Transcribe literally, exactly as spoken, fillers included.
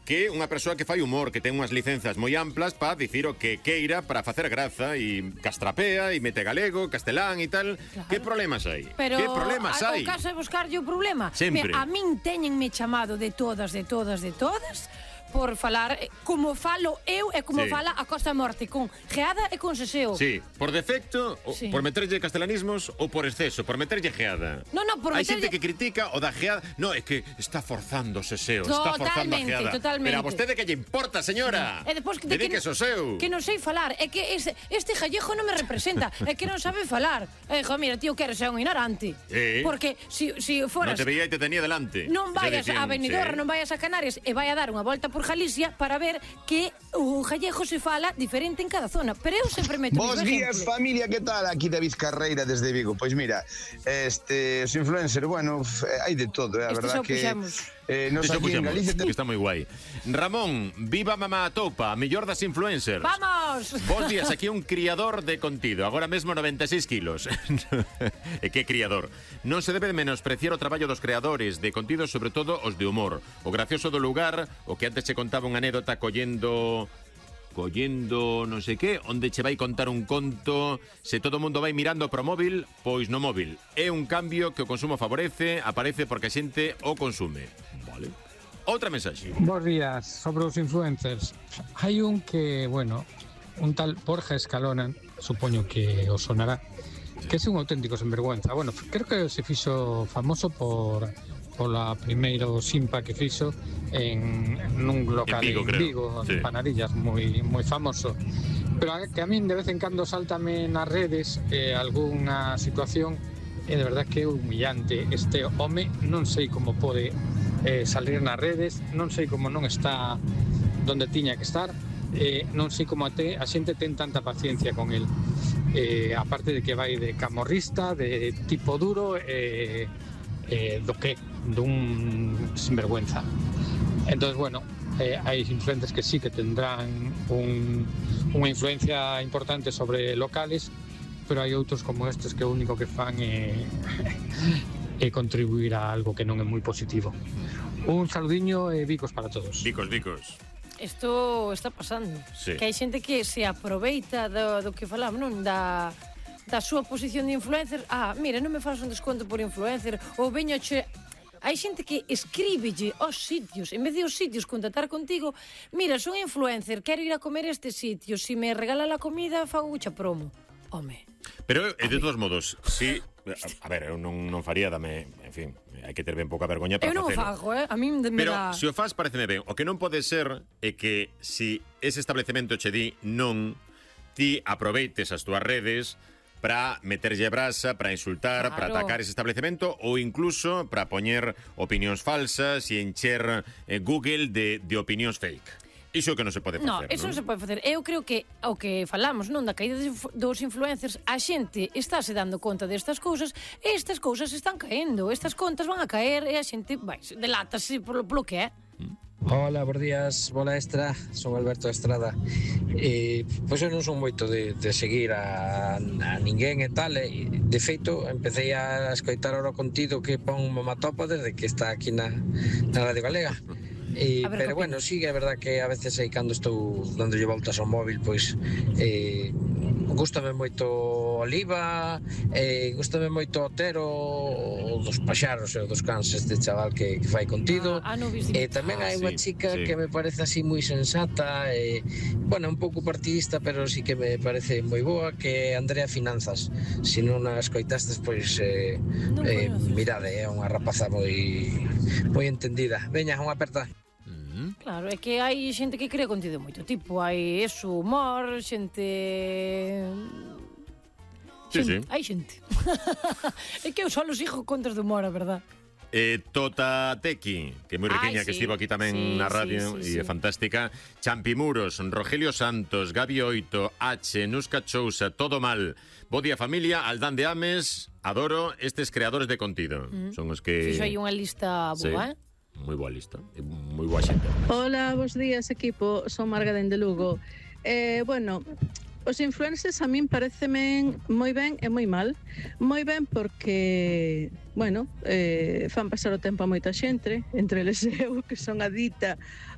que unha persoa que fai humor, que ten unhas licenzas moi amplas para dicir o que queira para facer graza e castrapea e mete galego, castelán e tal. Claro. Que problemas hai? Pero que problemas hai? O caso é buscarlle o problema. Sempre. Me, a min teñenme chamado de todas, de todas, de todas por falar como falo eu e como sí. fala a Costa Morte, con geada e con seseo. Sí, por defecto, sí. por meterlle castelanismos ou por exceso, por meterlle geada. No, no, por Hai meterlle... xente que critica o da geada. No, é que está forzando o seseo, está forzando a geada. Totalmente. Pero a vostede que lle importa, señora? E depois que de Dedique que, o seu. Que non sei falar, é que este, este gallejo non me representa, é que non sabe falar. E dixo, mira, tío, quero ser un ignorante. Sí. Porque si, si foras... Non te veía e te tenía delante. Non vayas decían, a Benidorm, sí. non vayas a Canarias e vai a dar unha volta por Galicia para ver que o gallego se fala diferente en cada zona. Pero eu sempre meto... Bos días, familia, que tal? Aquí David Carreira desde Vigo. Pois mira, este, os influencers, bueno, hai de todo, é eh? a este verdad que... Eh, nos aquí en Galicia... Que está moi guai. Ramón, viva mamá Atopa, mellor das influencers. Vamos! Bos días, aquí un criador de contido, agora mesmo noventa e seis kilos. E que criador? Non se debe de menospreciar o traballo dos creadores de contido, sobre todo os de humor. O gracioso do lugar, o que antes se contaba unha anécdota collendo... collendo non sei que, onde che vai contar un conto, se todo o mundo vai mirando pro móvil, pois no móvil. É un cambio que o consumo favorece, aparece porque a xente o consume. Vale. Outra mensaxe. Bos días, sobre os influencers. Hai un que, bueno, un tal Borja Escalona, supoño que os sonará, que é un auténtico sinvergüenza. Bueno, creo que se fixo famoso por... pola primeiro Simpa que fixo en, en un local en Vigo, en Vigo sí. Panadillas, moi moi famoso. Pero a, que a min de vez en cando saltame nas redes eh, algunha situación e de verdad que é humillante. Este home non sei como pode eh, salir nas redes, non sei como non está donde tiña que estar, eh, non sei como a, te, a xente ten tanta paciencia con el. Eh, aparte de que vai de camorrista, de tipo duro, eh, eh, do que dun sinvergüenza. Entonces, bueno, eh, hai influencers que sí que tendrán un, unha influencia importante sobre locales, pero hai outros como estes que o único que fan é, é contribuir a algo que non é moi positivo. Un saludiño e bicos para todos. Bicos, bicos. Isto está pasando. Sí. Que hai xente que se aproveita do, do que falamos, non? Da... da súa posición de influencer. Ah, mira, non me faz un desconto por influencer, ou veño che... Hai xente que escríbelle aos sitios, en vez de os sitios contactar contigo, mira, son influencer, quero ir a comer a este sitio, se me regala la comida, fago mucha promo. Home. Pero, de todos modos, si... A ver, eu non, non faría, dame... En fin, hai que ter ben pouca vergoña para facelo. Eu non o fago, eh? A mí me Pero, da... se o faz, pareceme ben. O que non pode ser é que, si ese establecemento che di non, ti aproveites as túas redes para meterlle brasa, para insultar, claro, para atacar ese establecemento ou incluso para poñer opinións falsas e encher eh, Google de, de opinións fake. Iso que non se pode facer, non? Iso non se pode facer. Eu creo que o que falamos, non, da caída dos influencers, a xente estáse dando conta destas cousas e estas cousas están caendo. Estas contas van a caer e a xente vai, delátase polo, polo que é. Hola, bons días, bola extra, son Alberto Estrada. E, pois eu non son moito de, de seguir a, a ninguén e tal, e de feito empecé a escoitar ora o contido que pon Mamatopa desde que está aquí na, na Radio Galega. E, pero bueno, sí, é verdad que a veces aí cando estou dándolle voltas ao móvil, pois eh, gústame moito Oliva, eh, gústame moito Otero, dos paxaros e dos cans, este chaval que, que fai contido. Ah, ah, no, e tamén hai unha sí, chica sí. que me parece así moi sensata, e, bueno, un pouco partidista, pero sí que me parece moi boa, que é Andrea Finanzas. Se non a escoitastes, pois eh, non eh, mirade, é unha rapaza moi moi entendida. Veña, unha aperta. Claro, é que hai xente que crea contido moito tipo, hai eso, humor, xente... Sí, xente. sí. Hai xente. É que eu só los hijo contas de humor, a verdad. Eh, Tota Tequi, que é moi riqueña, Ai, que sí. estivo aquí tamén sí, na radio sí, sí, e sí. é fantástica. Champimuros, Rogelio Santos, Gabi Oito, H, Nusca Chousa, Todo Mal, Bo Día Familia, Aldán de Ames, adoro estes creadores de contido. Mm. Son os que... Fixo aí unha lista boa, sí. eh? Moi boa lista, moi boa xente. Hola, bos días equipo, son Marga de Lugo. Eh, bueno, os influencers a min pareceme moi ben e moi mal. Moi ben porque, bueno, eh, fan pasar o tempo a moita xente, entre eles eu, que son adicta